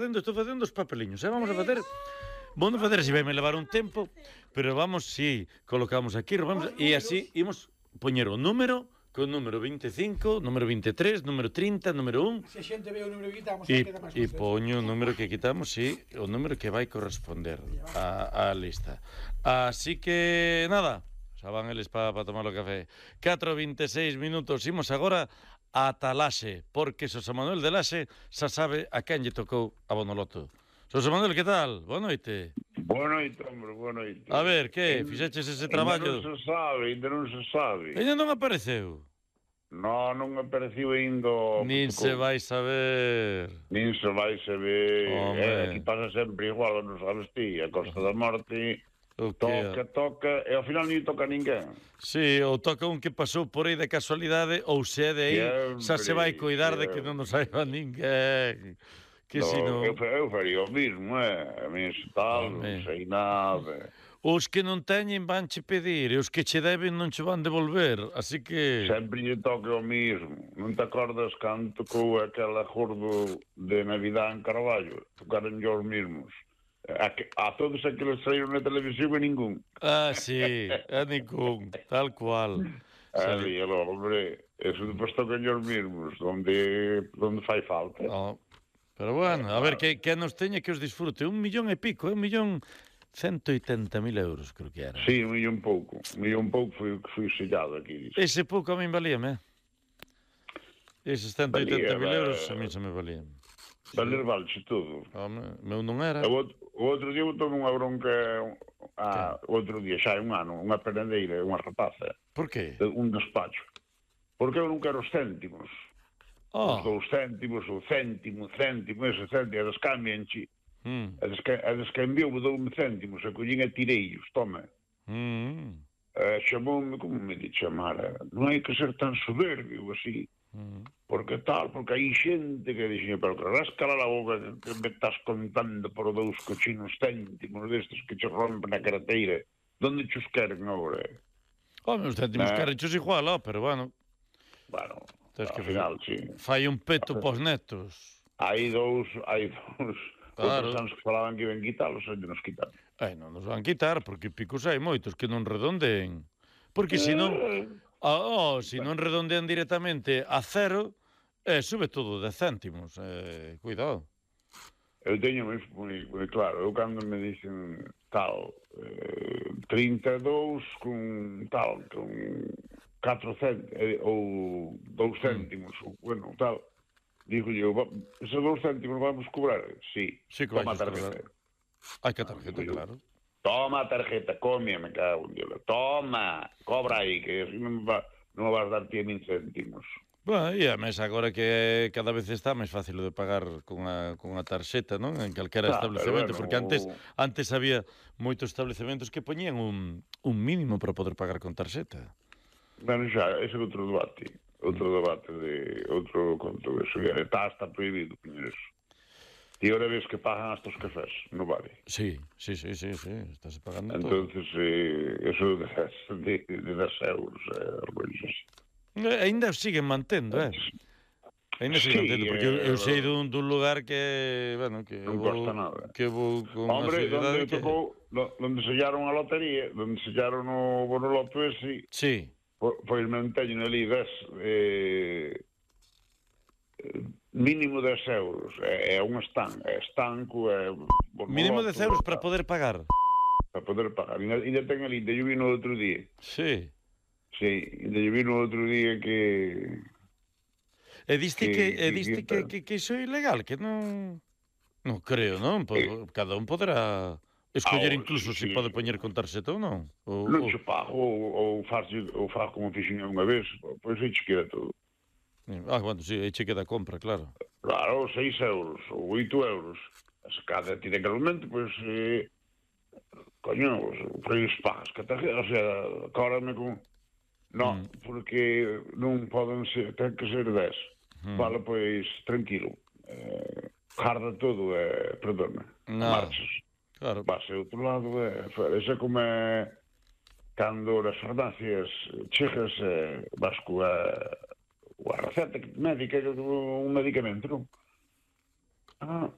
Estou facendo os papeliños, vamos a facer... Vamos a facer así, vai me levar un tempo, pero vamos, si, colocamos aquí, vamos, e así imos poñer o número, con número 25, número 23, número 30, número 1... Se a xente ve o número que quitamos, queda máis E poño o número que quitamos, si, o número que vai corresponder á lista. Así que, nada, xa van eles para tomar o café. 4:26 minutos, imos agora ata Laxe, porque Xosé Manuel de Laxe xa sabe a quen lle tocou a Bonoloto. Xosé Manuel, que tal? Boa noite. Boa noite, hombre, boa noite. A ver, que? Fixeches ese traballo? Ainda non se sabe. Ainda non apareceu? Non apareceu ainda. Nin se vai saber. Nin se vai saber. Aquí Home. pasa sempre igual, non sabes ti, a Costa da Morte... Toca, e ao final non toca a ninguén. Sí, ou toca un que pasou por aí de casualidade, ou se é de aí, xa se vai cuidar de que non nos saiba ninguén. Que si non... Eu faría o mismo, a mí se tal, non sei nada. Os que non teñen van che pedir, e os que che deben non che van devolver, así que... Sempre lle toca o mismo. Non te acordas cando tocou aquela acordo de Navidad en Carballo? Tocaron os mismos. A todos aqueles saíron na televisión e ningún. Sí, a ningún, tal cual. Ali, hombre, eso depois tocan os mismos, onde fai falta. Pero bueno, a ver, que nos teña que os disfrute. 1,5 millón, 180.000 euros, creo que era. Sí, 1 millón pouco. 1 millón pouco foi sellado aquí. Ese pouco a min valíame, Eses 180.000 euros a min se me valían. Valer valse todo. Meu non era. O outro día botou unha bronca, outro día, xa hai un ano, unha perendeira, unha rapaza. Por qué? Un despacho. Porque eu non quero os céntimos. Os 2 céntimos, o céntimo, ese céntimo, eles cambianchi. Eles cambiou, dou-me céntimos, a collín e tireillos, toma. Chamoume, como me di chamar? Non hai que ser tan soberbio, así. Porque hai xente que dixe, pero que rascala a boca que me estás contando por 2 cochinos céntimos destes que che rompen a carteira. Donde chos queren agora? Os céntimos queren chos igual, pero bueno. Bueno, ao final, sí. Fai un peto pos netos. Hai dous outros anos que falaban que iban quitalos, onde nos quitaron. Non nos van quitar, porque picos hai moitos que non redondeen. Porque senón... se non redondean directamente a cero, sube todo de céntimos. Cuidado. Eu teño moi claro. Eu cando me dicen tal, 32 con tal, con 4 céntimos, ou 2 céntimos, bueno, tal, digo eu, esos 2 céntimos vamos cobrar? Sí, toma a tarjeta. Hai que a tarjeta, claro. Toma a tarjeta, me cago en Dios. Toma, cobra aí, que non me vas dar ti a 1.000 céntimos. Bueno, e a mesa agora que cada vez está máis fácil de pagar con a tarxeta, non? En calquera establecemento, porque antes había moitos establecementos que poñían un mínimo para poder pagar con tarxeta. Bueno, xa, ese é outro debate de outro conto, eso está prohibido poñer eso. E ahora ves que pagan hasta os cafés, non vale? Sí, estás pagando todo. Entonces, eso de 10 euros, ainda siguen mantendo, Ainda siguen mantendo, porque eu sei dun lugar que, bueno, que non costa nada. Que vou con unha sociedade que... Donde sellaron a lotería, donde sellaron o Bonoloto ese... Sí. Pois non teñen ali 10... mínimo 10 euros, é un estanco, mínimo 10 euros para poder pagar. Para poder pagar. Ainda ten ali, ainda yo vi no outro día. Sí. Sí, ainda yo vi no outro día que... E diste que iso é ilegal, que non... Non creo, non? Cada un poderá escoller incluso se pode poñer con tarxeta ou non. Non se pago, ou faz como fixen unha vez, pois aí che queda todo. Bueno, sí, aí che queda a compra, claro. Claro, 6 euros, ou 8 euros. Se cada ti de calmente, pois... Coño, pois pagas que tarjeta, o sea, cóbrame con... Non, porque non poden ser, ten que ser 10. Vale, pois, tranquilo. Jarda todo, perdona, marchas. Claro. Vas a outro lado, ese como cando as farmacias chegas, vas coa receta médica, un medicamento, non?